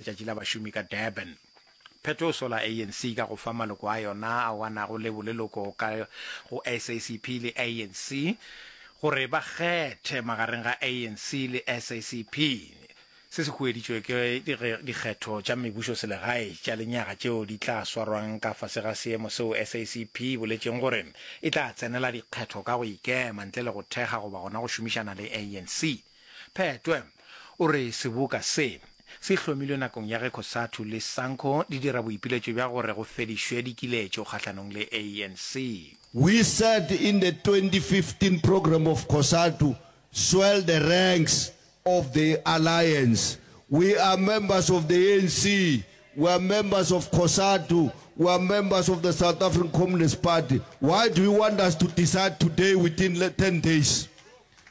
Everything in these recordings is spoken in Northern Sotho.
Letšatši la Bašomi ka Durban. Phetho o sola ANC ka go fa maloko a yona ao a nago le boleloko ka go SACP le ANC gore ba kgethe magareng ga ANC le SACP. Se se hueditšwe ke dikgetho tša mebušoselegae tša lenyaga tšeo di tla swarwang ka fase ga seemo seo SACP e boletšeng gore e tla tsenela dikgetho ka go ikema ntle le go thekga goba gona go šomišana le ANC. Phetwe o re seboka se se hlomilwe nakong ya ge Cosatu le Sanco di dira boipiletšo bja gore go fedišwe dikiletšo kgahlanong le ANC. We said in the 2015 programme of Cosatu, swell the ranks of the alliance. We are members of the ANC, we are members of Cosatu, we are members of the South African Communist Party. Why do you want us to decide today within 10 days?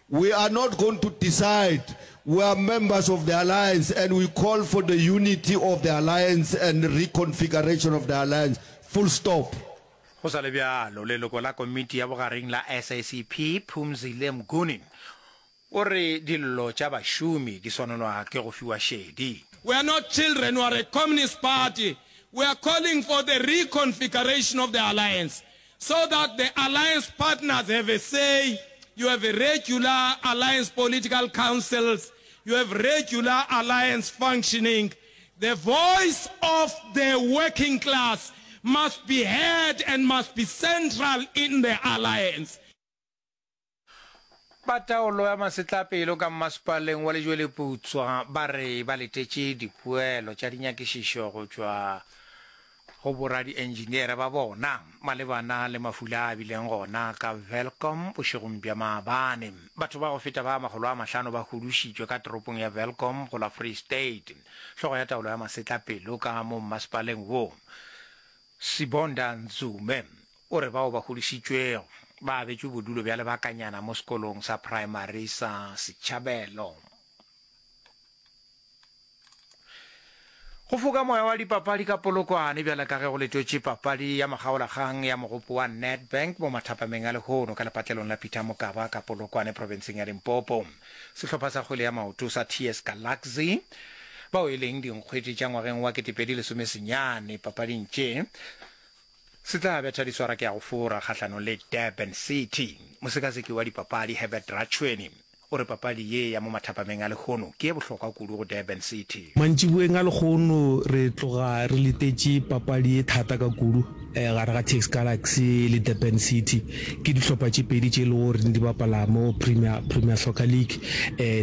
We are not going to decide. We are members of the alliance and we call for the unity of the alliance and reconfiguration of the alliance. Full stop. Go sa le bjalo, leloko la komiti ya bogareng la SACP, Phumzile Mguni, o re dillo tša bašomi di swanelwa ke go fiwa šedi. We are not children, we are a communist party. We are calling for the reconfiguration of the alliance so that the alliance partners have a say, you have regular alliance political councils, you have regular alliance functioning. The voice of the working class must be heard and must be central in the alliance. Ba taolo ya masetlapelo ka mmasepaleng wa Lejweleputswa ba re ba letetše dipoelo tša dinyakišišo go tšwa go boradienjiniere ba bona malebana le mafula a bileng gona ka Welkom bošegong bja maabane. Batho ba go feta ba 500 ba hudušitšwe ka toropong ya Welkom go la Free State. Hlogo ya taolo ya masetlapelo ka mo mmasepaleng wo, Sibonda Nzume, O re bao ba hudušitšwego ba abetšwe bodulo bja lebakanyana mo sekolong sa praemari sa Setšhabelo. Go foka moya wa dipapadi ka Polokwane bjale ka ge go letwetše papadi ya makgaolakgang ya mogopo wa Nedbank mo mathapameng a lehono ka lepatlelong la Peter Mokaba ka Polokwane profenseng ya Limpopo. Sehlopha sa kgwele ya maoto sa TS Galaxy bao e leng dinkgwete tša ngwageng wa 2019 papading tše Se tla betha diswara ke ya go fora kgahlanong le Durban City. Mosekaseki wa dipapadi Herbert Ratshweni o re papadi ye ya mo mathapameng a lehono ke ye bohlokwa kudu go Durban City. Mantšiboeng a lehono re tloga re letetše papadi ye thata ka kudu gare ga TS Galaxy le Durban City. Ke dihlopha tše pedi tše e lego gore di bapala mo Premier, Premier Soccer League.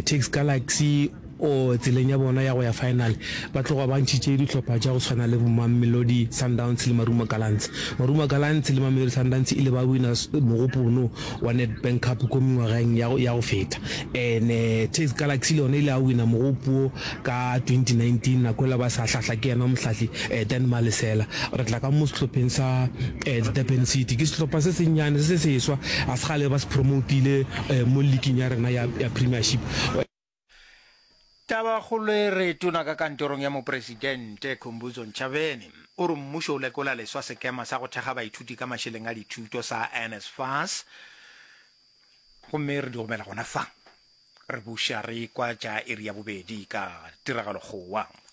TS Galaxy O tseleng ya bona ya go ya final, ba tloga ba ntšhitše dihlopha tša go swana le Mamelodi Sundowns le Marumo Gallants. Marumo Gallants le Mamelodi Sundowns ile ba wina mogopo ono wa Nedbank Cup ko mengwageng ya go feta. And TS Galaxy le yona ile ya wina mogopo wo ka 2019 nako ela ba sa hlahla ke yena mohlahli Dan Malesela. Re tla ka mo sehlopheng sa Durban City, ke sehlopha se sennyane se se seswa, ga se kgale ba se promotile mo leaking ya rena ya Premiership. Tabakgolo e re tona ka kantorong ya mopresidente Khumbudzo Ntshavheni o re mmušo o lekola leswa sekema sa go thekga baithuti ka mašeleng a dithuto sa NSFAS gomme re di gomela gona fa re buša re kwa tša iri ya bobedi ka tiragalo kgowa.